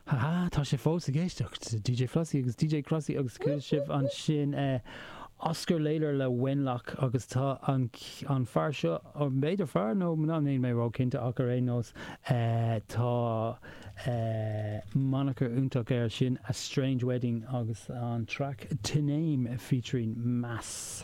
Ha, tá sibh fós ag éisteacht le DJ Flossie agus DJ Crossy agus chuala sibh ansin Oscar Lalor le Wenlock agus tá an an fear seo, b'fhéidir fear nó mná, níl mé ró-chinnte ach ar aon nós tá moniker iontach air sin A Strange Wedding agus an track To Name featuring Mass.